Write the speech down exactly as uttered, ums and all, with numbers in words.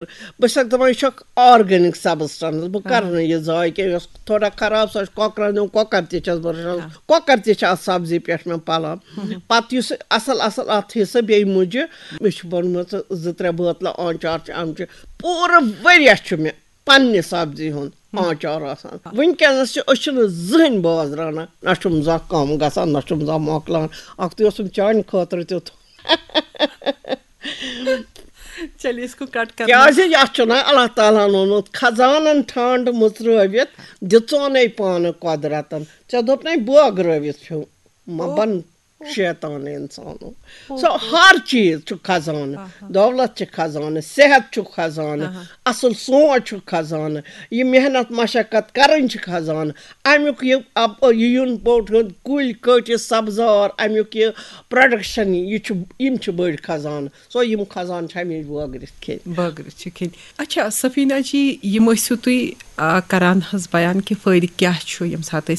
بہٕ چھَسَکھ دَپان، یہِ چھُ اَکھ organic substance، بہٕ کَرٕ نہٕ یہِ ضایع کینٛہہ۔ یۄس تھوڑا خراب، سۄ چھِ کۄکرَن دِوان، کۄکَر تہِ چھَس بہٕ رَچھان، کۄکَر تہِ چھِ اَتھ سبزی پٮ۪ٹھ مےٚ پَلان۔ پَتہٕ یُس اَصٕل اَصٕل اَتھ حِصہٕ بیٚیہِ مُجہِ، مےٚ چھِ بَنیمٕژ زٕ ترٛےٚ بٲتلہٕ آنچار چہِ اَمچہِ۔ پوٗرٕ ؤریَس چھُ مےٚ پنٛنہِ سبزی ہُنٛد آنچار آسان۔ وٕنکیٚنَس چھِ، أسۍ چھِنہٕ زٕہٕنۍ بازرٕ اَنان، نہ چھُم زانٛہہ کَم گژھان، نہ چھُم زانٛہہ مۄکلان۔ اَکھتُے اوسُم چانہِ خٲطرٕ تیُتھ۔ چلیے، اس کو کٹ کرنا۔ کیٛازِ یَتھ چھُنہ اللہ تعالیٰ ہَن ووٚنمُت، "خزانَن ٹھانٛڈ مُژرٲوِتھ دِژونے پانہٕ قۄدرَتَن۔" ژےٚ دوٚپ نَے، بٲگرٲوِتھ چھُ، مہ بَن شیطان اِنسانو۔ سُہ ہر چیٖز چھُ خزانہٕ، دولت چھِ خزانہٕ، صحت چھُ خزانہٕ، اَصٕل سونٛچ چھُ خزانہٕ، یہِ محنت مشقت کَرٕنۍ چھِ خزانہٕ۔ اَمیُک یہِ اَپ-، یہِ یُن پوٚٹ ہیوٚن، کُلۍ کٔٹۍ، یہِ سبزار، اَمیُک یہِ production، یہِ چھُ، یِم چھِ بٔڑۍ خزانہٕ۔ سو یِم خزانہٕ چھِ ہمیشہِ بٲگرِتھ کھیٚنۍ۔ بٲگرِتھ چھِ کھیٚنۍ۔ اچھا سفیٖنہ جی، یِم ٲسِو تُہۍ، آ، کران حظ بیان کہِ فٲیدٕ کیٛاہ چھُ ییٚمہِ ساتہٕ